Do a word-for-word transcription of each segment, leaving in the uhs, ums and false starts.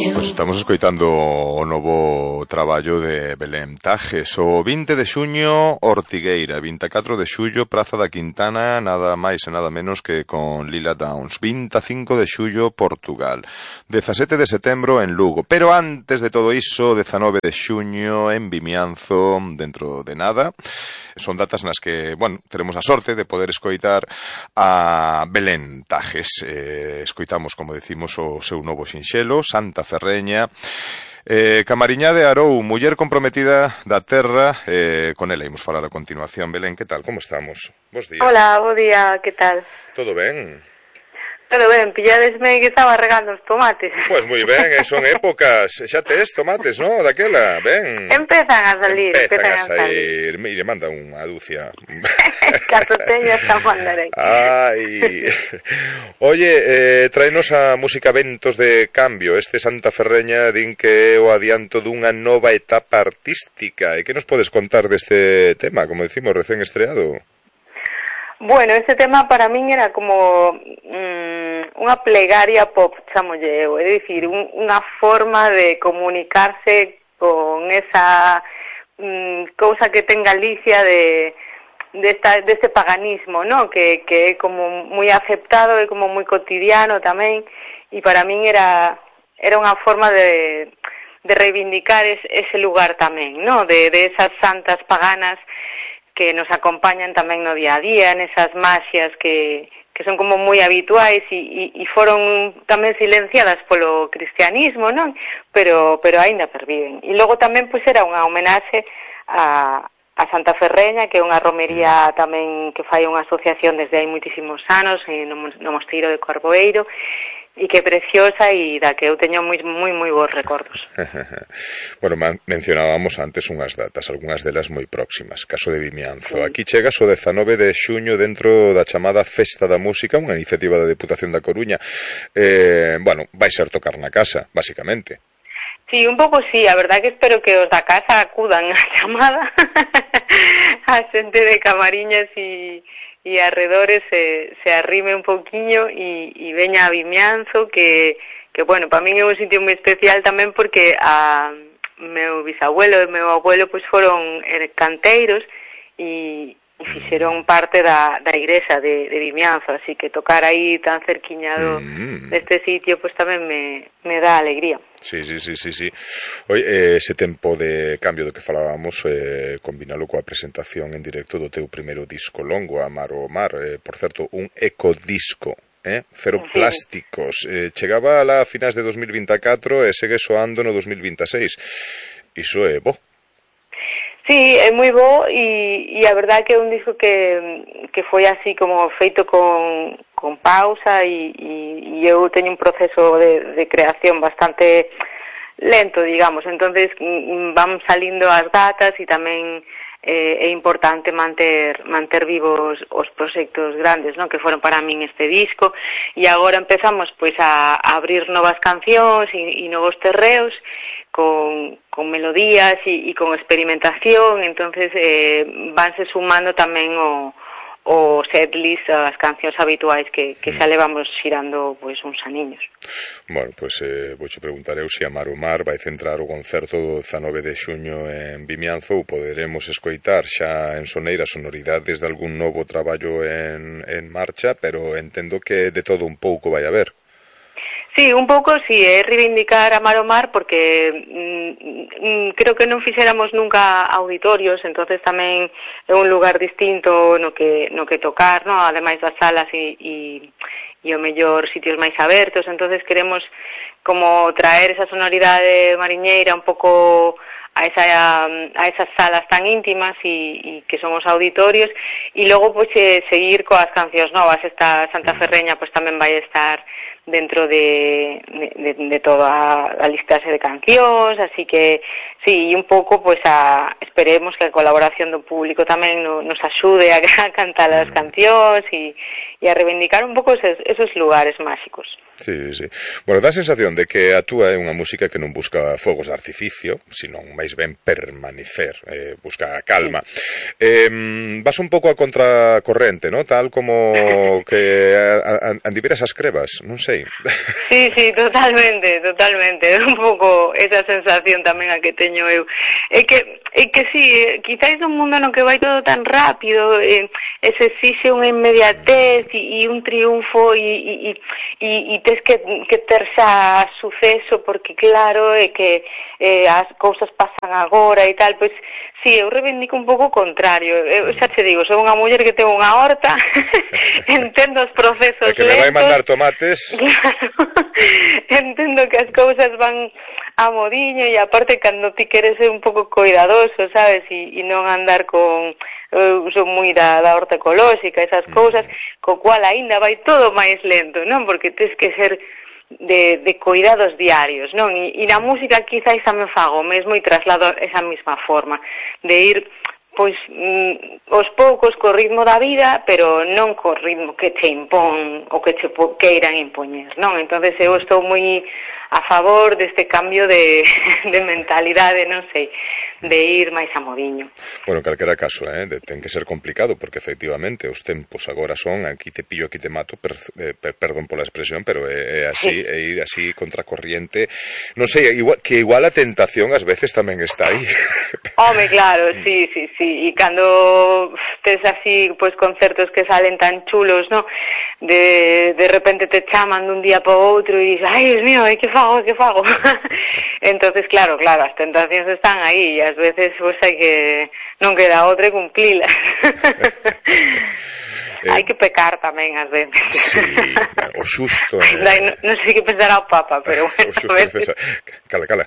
Pois estamos escoitando o novo traballo de Belén Tajes. O vinte de xuño, Ortigueira. vinte e catro de xullo, Praza da Quintana, nada máis e nada menos que con Lila Downs. vinte e cinco de xullo, Portugal. dezasete de setembro en Lugo. Pero antes de todo iso, dezanove de xuño en Vimianzo, dentro de nada. Son datas nas que, bueno, teremos a sorte de poder escoitar a Belén Tajes. Eh, escoitamos, como decimos, o seu novo sinxelo, Santa Ferreña. Eh, Camariñá de Arou, muller comprometida da terra, eh, con ela imos falar a continuación. Belén, que tal? Como estamos? Bos días. Hola, bo día, que tal? Todo ben? Todo ben, pilladesme que estaba regando os tomates. Pois moi ben, eh, son épocas. Xa tes tomates, non? Daquela, ben. Empezan a salir, empezan, empezan a a salir. Mire, manda unha dúcia. Caso teño esta mandarei. Ai. Oye, eh, traenos a música Ventos de Cambio. Este Santa Ferreña din que é o adianto dunha nova etapa artística. E que nos podes contar deste tema, como decimos, recén estreado? Bueno, este tema para min era como mm, unha plegaria pop, chamolle eu, é dicir, un, unha forma de comunicarse con esa mm, cousa que ten Galicia de de, esta, de este paganismo, ¿no? Que, que é como moi aceptado, é como moi cotidiano tamén, e para min era era unha forma de, de reivindicar es, ese lugar tamén, ¿no? De, de esas santas paganas que nos acompañan tamén no día a día, nesas magias que, que son como moi habituais e, e, e foron tamén silenciadas polo cristianismo, non? Pero, pero aínda perviven. E logo tamén pois era unha homenaxe a, a Santa Ferreña, que é unha romería tamén que fai unha asociación desde hai moitísimos anos no, no Mosteiro de Corboeiro, e que é preciosa e da que eu teño moi moi moi bons recordos. Bueno, mencionábamos antes unhas datas, algunhas delas moi próximas. Caso de Vimianzo. Sí. Aquí chegas o dezanove de xuño dentro da chamada Festa da Música, unha iniciativa da Deputación da Coruña. Eh, bueno, vai ser tocar na casa, basicamente. Sí, un pouco sí, a verdade que espero que os da casa acudan á chamada a xente de Camariñas e e arredores se, se arrime un pouquiño e, e veña a Vimianzo, que, que bueno, para min é un sitio moi especial tamén porque a meu bisabuelo e meu abuelo pois foron canteiros e, e fixeron parte da, da igrexa de, de Vimianzo, así que tocar aí tan cerquiña do, mm. deste sitio pois tamén me, me dá alegría. Sí, sí, sí, sí, sí. Oye, ese tempo de cambio do que falábamos, eh, combinalo coa presentación en directo do teu primeiro disco longo, Amar o Mar, eh, por certo, un ecodisco, eh? Cero sí. plásticos. Eh, chegaba a finais de dos mil vinte e catro e segue soando no dos mil vinte e seis. Iso é bo. Sí, é moi bo e, e a verdade que é un disco que, que foi así como feito con, con pausa e, e, e eu teño un proceso de, de creación bastante lento, digamos, entonces van salindo as datas e tamén eh, é importante manter manter vivos os proxectos grandes, ¿no? Que foron para min este disco e agora empezamos pois a, a abrir novas cancións e, e novos terreos con, con melodías e, e con experimentación, entonces eh, vanse sumando tamén o, o setlist, as cancións habituais que, que xa levamos xirando pois uns aniños. Bueno, pois eh, vouche preguntar eu se Amar o Mar vai centrar o concerto do dezanove de xuño en Vimianzo ou poderemos escoitar xa en soneira sonoridades de algún novo traballo en, en marcha, pero entendo que de todo un pouco vai haber. Sí, un pouco, sí, é reivindicar Amar o Mar porque mm, creo que non fixéramos nunca auditorios, entonces tamén é un lugar distinto no que no que tocar, no, ademais das salas e, e, e o mellor sitios máis abertos, entonces queremos como traer esa sonoridade mariñeira un pouco a esa a esas salas tan íntimas e, e que son os auditorios e logo pois pues, seguir coas cancións novas. Esta Santa Ferreña pois pues, tamén vai estar dentro de, de, de toda a listaxe de cancións, así que sí, un pouco pois pues, a esperemos que a colaboración do público tamén no, nos axude a, a cantar as cancións e, e a reivindicar un pouco esos, esos lugares máxicos. Sí, sí. Bueno, dá a sensación de que a túa é unha música que non busca fogos de artificio, senón máis ben permanecer, eh, busca a calma. Eh, vas un pouco a contracorrente, ¿no? Tal como que andiveras as crevas, non sei. Sí, sí, totalmente, totalmente. Un pouco esa sensación tamén a que teño eu. É que, é que sí, quizáis un mundo no que vai todo tan rápido, eh, e se exixe unha inmediatez e, e un triunfo e, e, e, e tes que, que ter xa suceso porque claro é que eh, as cousas pasan agora e tal, pois sí, eu reivindico un pouco o contrario. Eu xa te digo, sou unha muller que ten unha horta, entendo os procesos lentos. É que me vai mandar tomates. Claro, entendo que as cousas van a modiño e aparte cando ti queres ser un pouco cuidadoso, sabes, e, e non andar con... Eu sou moi da, da horta ecolóxica, esas cousas, co cual aínda vai todo máis lento, non? Porque tens que ser de, de cuidados diarios, non? E, e na música quizáis tamén fago mesmo e traslado esa mesma forma de ir, pois, mm, aos poucos co ritmo da vida, pero non co ritmo que te impón ou que te queiran impoñer, non? Entonces eu estou moi a favor deste cambio de, de mentalidade, non sei, de ir máis a modiño. Bueno, en calquera caso, eh, de, ten que ser complicado, porque efectivamente os tempos agora son aquí te pillo, aquí te mato, per, per, perdón pola expresión, pero é, é así, sí. É ir así contracorriente. Non sei, igual, que igual a tentación ás veces tamén está aí. Home, claro, sí, sí, sí, e cando tes así, pois, concertos que salen tan chulos, no? De, de repente te chaman dun día para outro e dices, ai, Dios mío, que fago, que fago? Entonces, claro, claro, as tentacións están aí e ás veces pois hai que non queda outra e cumplilas. eh, hai que pecar tamén ás veces. Sí, o xusto. Eh... Dai, non, non sei que pensará o Papa, pero bueno, o xusto a veces... Cala, cala.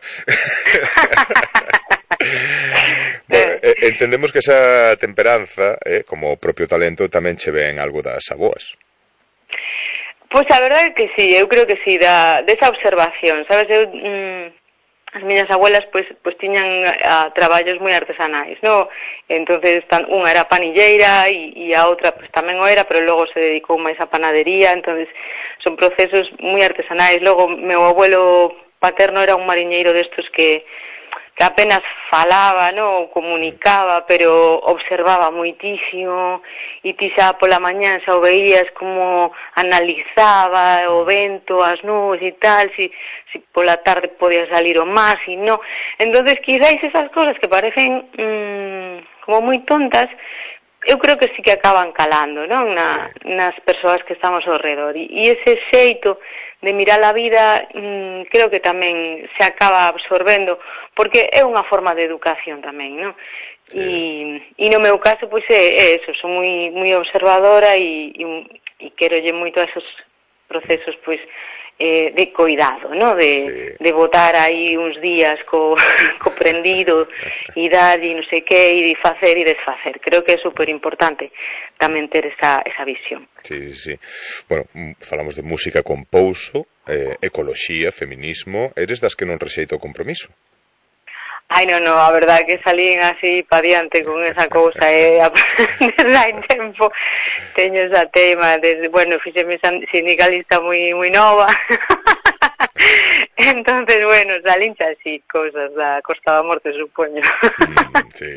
Bueno, eh, entendemos que esa temperanza, eh, como o propio talento, tamén che ven algo das aboas. Pois a verdade é que sí, eu creo que sí, da, desa observación, sabes, eu... Mm, as miñas abuelas pois pois tiñan a, traballos moi artesanais, no? Entonces tan, unha era panilleira e, e a outra pois tamén o era, pero logo se dedicou máis a panadería, entonces son procesos moi artesanais. Logo meu abuelo paterno era un mariñeiro destos que que apenas falaba, no, comunicaba, pero observaba moitísimo e ti xa pola mañán xa o veías como analizaba o vento, as nubes e tal, si, si pola tarde podía salir o mar, si no. Entonces, quizáis esas cosas que parecen mmm, como moi tontas, eu creo que sí que acaban calando, non? Na, nas persoas que estamos ao redor. E, e ese xeito de mirar a vida mmm, creo que tamén se acaba absorbendo, porque é unha forma de educación tamén, non? E, e no meu caso, pois é, é eso, son moi, moi observadora e, e, e querolle moito a esos procesos, pois, eh, de cuidado, ¿no? De, sí. de botar aí uns días co, co prendido e dar e non sei que, e de facer e desfacer. Creo que é super importante tamén ter esa, esa visión. Sí, sí, sí. Bueno, falamos de música con pouso, eh, ecoloxía, feminismo. Eres das que non rexeita o compromiso? Ai, non, non, a verdade que salín así pa diante con esa cousa e eh, desde hai tempo teño esa tema, desde, bueno, fixeme sindicalista moi moi nova. Entonces, bueno, salín así cousas da Costa da Morte, supoño. Mm, sí.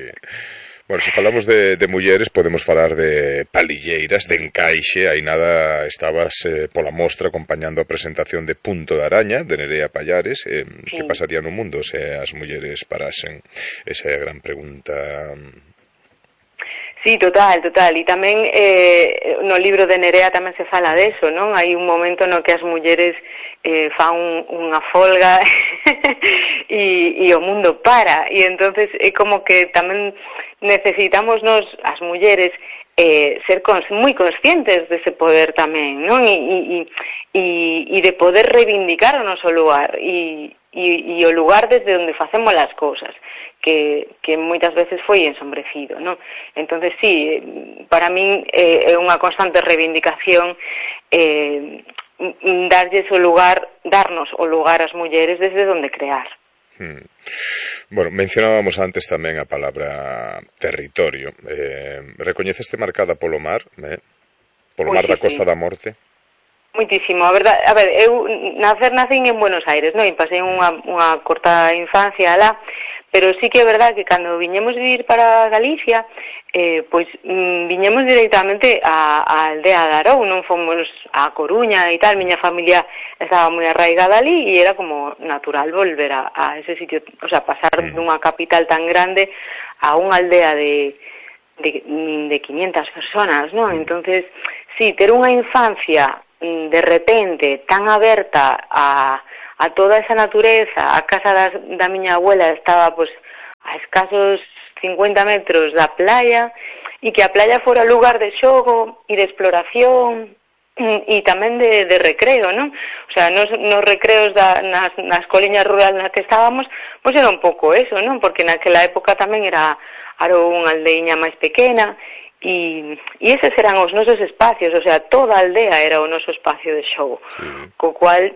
Bueno, se falamos de, de mulleres, podemos falar de palilleiras, de encaixe. Aí nada estabas eh, pola mostra acompañando a presentación de Punto de Araña, de Nerea Pallares. Eh, sí. Que pasaría no mundo se as mulleres parasen? Esa é a gran pregunta. Sí, total, total. E tamén eh, no libro de Nerea tamén se fala deso, non? Hai un momento no que as mulleres eh, fan un, unha folga e, e o mundo para. E entonces é como que tamén necesitamos nos, as mulleres, eh, ser cons, moi conscientes dese poder tamén, non? E, e, e, e de poder reivindicar o noso lugar e, e, e o lugar desde onde facemos as cousas, que, que moitas veces foi ensombrecido, non? Entonces, sí, para min eh, é unha constante reivindicación eh, darlles o lugar, darnos o lugar ás mulleres desde onde crear. Hmm. Bueno, mencionábamos antes tamén a palabra territorio. Eh, recoñeceste marcada polo mar, eh? Polo mar da Costa da Morte. Muitísimo, a verdade, a ver, eu nacer nacín en Buenos Aires, non? E pasei unha, unha corta infancia lá, pero sí que é verdade que cando viñemos vivir para Galicia, eh, pois mm, viñemos directamente á, á aldea de Arou, non fomos a Coruña e tal, miña familia estaba moi arraigada ali e era como natural volver a, a ese sitio, o sea, pasar mm. dunha capital tan grande a unha aldea de, de, de quinientas personas, non? Entonces, sí, ter unha infancia de repente tan aberta a, a toda esa natureza, a casa da, da miña abuela estaba pues a escasos cincuenta metros da playa e que a playa fora lugar de xogo e de exploración e tamén de, de recreo, non? O sea, nos, nos recreos da, nas, nas coliñas rurales nas que estábamos, pois era un pouco eso, non? Porque naquela época tamén era, era unha aldeiña máis pequena. E, e eses eran os nosos espacios, o sea, toda a aldea era o noso espacio de xogo, sí. Co cual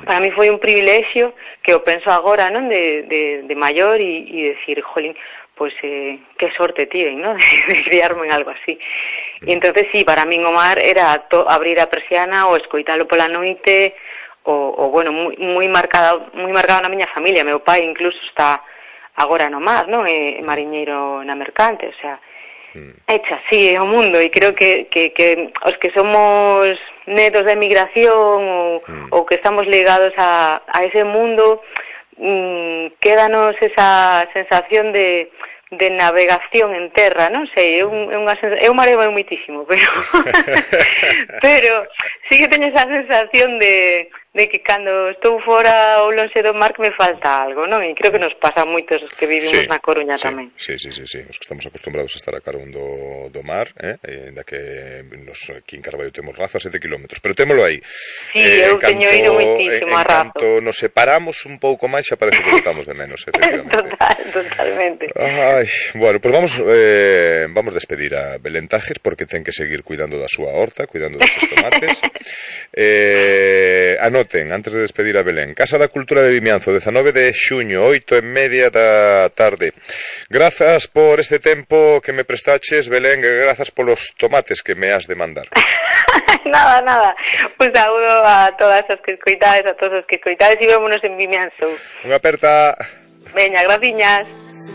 para mí foi un privilexio que o penso agora, non, de, de, de maior e, e decir, jolín, pois eh, que sorte tiven, non, de, de criarme en algo así. Mm. E entonces sí, para min o mar era to, abrir a persiana ou escoitalo pola noite, o, o bueno, moi, moi marcado, moi marcado na miña familia. Meu pai incluso está agora no mar, non, é mariñeiro na mercante, o sea, hecha así o mundo, e creo que, que, que os que somos netos de emigración ou, mm. ou que estamos ligados a, a ese mundo, mmm, quédanos esa sensación de, de navegación en terra, non sei, é, un, é unha sensación, eu mareo moitísimo, pero pero sí que teño esa sensación de de que cando estou fora ou lonxe do mar que me falta algo, non? E creo que nos pasa a moitos os que vivimos sí, na Coruña sí, tamén. Sí, sí, sí, sí, os que estamos acostumbrados a estar a carón do, do mar, eh? E da que nos, aquí en Carballo temos Razo a sete kilómetros, pero témolo aí. Sí, eh, eu teño ido moitísimo a Razo. En canto nos separamos un pouco máis, xa parece que estamos de menos, efectivamente. Total, totalmente. Ai, bueno, pues vamos eh, vamos despedir a Belén Tajes, porque ten que seguir cuidando da súa horta, cuidando deses tomates. eh, anoten, antes de despedir a Belén, Casa da Cultura de Vimianzo, dezanove de xuño, oito e media da tarde. Grazas por este tempo que me prestaches, Belén, e grazas polos tomates que me has de mandar. Nada, nada. Un saúdo a todas as que escoitades, a todos os que escoitades, e vémonos en Vimianzo. Unha aperta. Veña, graciñas.